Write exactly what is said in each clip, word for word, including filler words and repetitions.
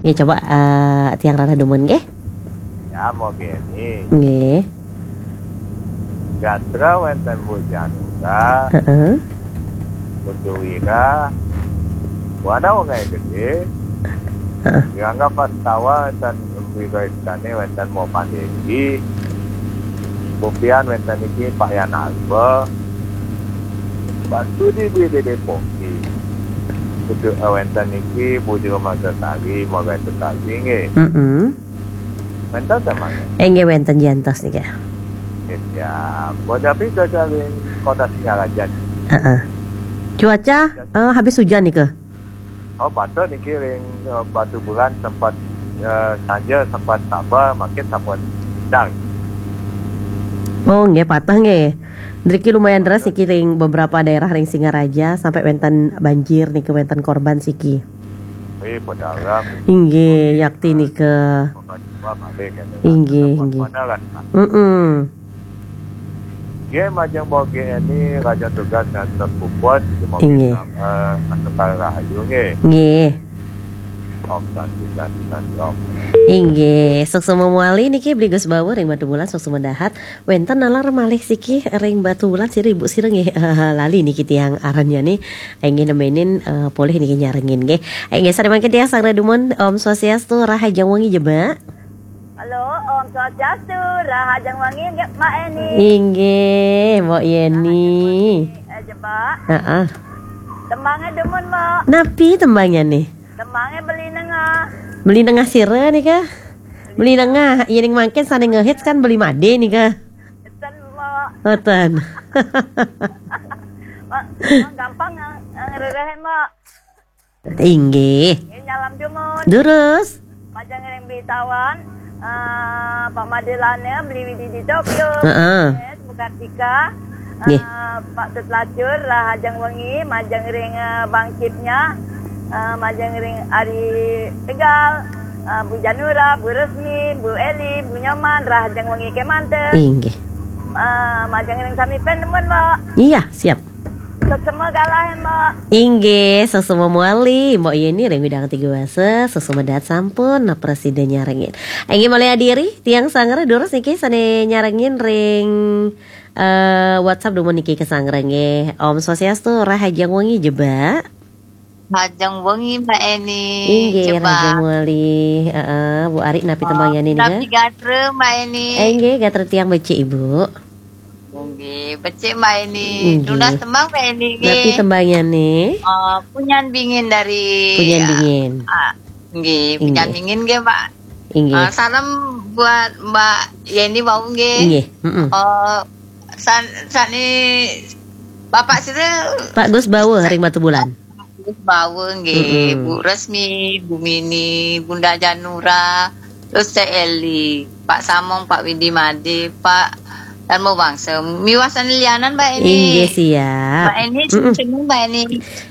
Nggih, coba, eh, tiang rarah dumun nggih. Ya, mau gini. Nggih. Gatra wénten Bu Janura, heeh, Bu Wira, Bu Ana wong gedé. Heeh. Dianggap pas tawa wénten Bu Wira istane wénten mau pandegi. Bupian wénten iki Pak Yan Alba. Pak Sudi di Dede Poki. Kudu, eh, wénten iki Bu Jero Marsari, mau wénten tadi nggih. Heeh. Wénten ta, Mas? Inggih wénten jantos nika. Ya, mau tapi kocalin kota Singaraja. Heeh. Cuaca, eh, habis hujan nika. Oh, patut niki ring, eh, Batubulan sempat, eh, sanja sempat sabar, makin sampun dang. Oh, nggih, patah nggih. Driki lumayan deras niki ring beberapa daerah ring Singaraja sampai wénten banjir niki, wénten korban siki. Wih, padahal. Inggih, yakti nika. Korban jiwa malih, kan. Inggih, inggih. Padahal, kan. Mm-mm. Nggih, majeng bogi ini raja tugas ngantos puput, semoga, inggih, eh, antuk rahayu nggih. Nggih. Om Santi, Santi, Santi, Om. Inggih, suksma malih niki Bli Gus Bawa ring Batubulan, suksma dahat. Wénten nalar malih siki ring Batubulan sira Ibu sira nggih. Lali niki tiang arannya nih. Inggih nemenin, eh, polih niki nyarengin nggih. Inggih sare mangkin tiang sang dumun, Om Swastiastu, rahajeng wengi jebak. Halo, Om Swastiastu, rahajeng wengi nggih, Mbak Eni. Inggih, Mbok Yeni. Eh, jebak. Heeh. Tembangnya dumun, Mbak. Napi tembangnya nih? Tembangnya Beli Nengah. Beli Nengah sira nika? Beli Nengah, iya ning mangkin sane ngehits kan Beli Made nika. Ten, Mbak. Ngoten. Mbak, gampang nge-, ngererehin, Mbak. Inggih. Nggih, nyalam dumun. Durus. Majeng ring Bli Tawan, eh, Pak Madelane, Bli Widi di Tokyo. Heeh. Yes, Bu Kartika. Nggih. Eh, Pak Tut Lacur, rahajeng wengi, majeng ring, eh, Bang Cipnya, eh, majeng ring Ari Tegal, eh, Bu Janura, Bu Resmi, Bu Eli, Bu Nyoman, rahajeng wengi kemanten. Inggih. Eh, majeng ring sami pen dumun, Mbak. Iya, siap. Suksma galah, Mbak. Inggih, suksma malih, Mbok Yeni ring Widang Tiga Wasa, suksma dahat sampun prasida nyarengin. Inggih malih adiri, tiang sanggra durus niki sane nyarengin ring, eh, WhatsApp dumun niki kasanggra nggih. Om Swastiastu, rahajeng wengi jebak. Rahajeng wengi, Mbak Eni. Inggih, jebak. Rahajeng wengi. Heeh, Bu Ari napi tembangnya nika? Napi gatra, Mbak Eni? Eh, inggih, gatra tiang becik, Ibu. Nggih, becik Mbak Eni. Inggih. Nunas tembang Mbak Eni nggih. Napi tembangnya nih? Eh, Punyan Bingin dari, Punyan Bingin. Ah, nggih, Punyan Bingin nggih, Mbak. Inggih. Eh, salam buat Mbak Yeni wau nggih. Inggih, mm-mm. Eh, san-, sani Bapak sira Pak Gus Bawa ring Batubulan. Gus Bawa nggih, mm-mm. Bu Resmi, Bu Mini, Bunda Janura, terus Cek Eli, Pak Samong, Pak Widi Made, Pak Darmo Bangsa. Miwah sane lianan, Mbak Eni. Inggih, siap. Mbak Eni, mm-mm, sing-sing, Mbak Eni.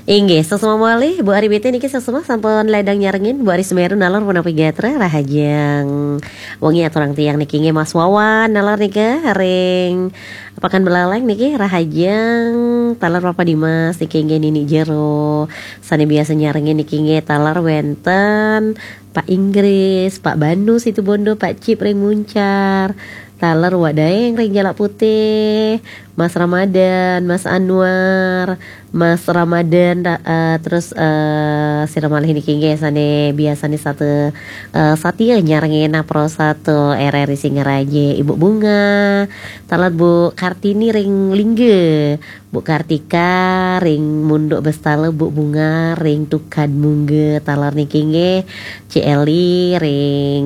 Inggih, suksma malih, Bu Ari B T niki suksma sampun ledang nyarengin, Bu Ari Semeru nalar punapi gatra, rahajeng wengi aturang tiang niki nggih Mas Wawan, nalar nika ring Pakan Belaleng niki rahajeng taler Papa Dimas niki nggih Nini Jero. Sane biasa nyarengin niki nggih taler wenten Pak Inggris, Pak Banu Situbondo, Pak Cip ring Muncar. Taler Wak Daeng ring Jalak Putih, Mas Ramadan, Mas Anwar, Mas Ramadan, ra-, eh, terus, eh, sira malih niki nggih sane biasane satu, eh, satia nyarengin Pro Satu R R I Singaraja, Ibu Bunga, taler Bu Kartini ring Lingga, Bu Kartika ring Munduk Bestala, Bu Bunga ring Tukad Mungga, taler niki nggih Ci Eli ring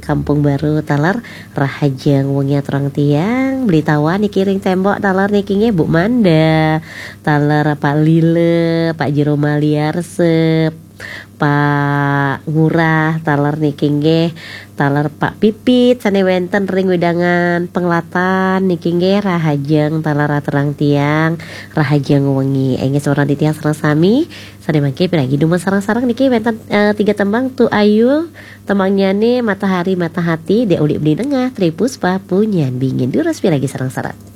Kampung Baru, taler rahajeng wengi aturang tiang, Beli Tawan niki ring Tembok, taler niki nggih Bu Manda, taler Pak Lila, Pak Jero Maliarsa, Pak Ngurah, taler niki nggih, taler Pak Pipit, sane wenten ring wedangan Penglatan niki nggih, rahajeng taler aturang tiang, rahajeng wengi. Inggih semeton titiang sareng sami, sane mangke piragi dumun sareng-sareng niki wenten, eh, tiga tembang Tu Ayul, tembangnyane Matahari Mata Hati, Dek Ulik Beli Nengah, Tri Puspa, Punyan Bingin. Durus piragi sareng-sareng.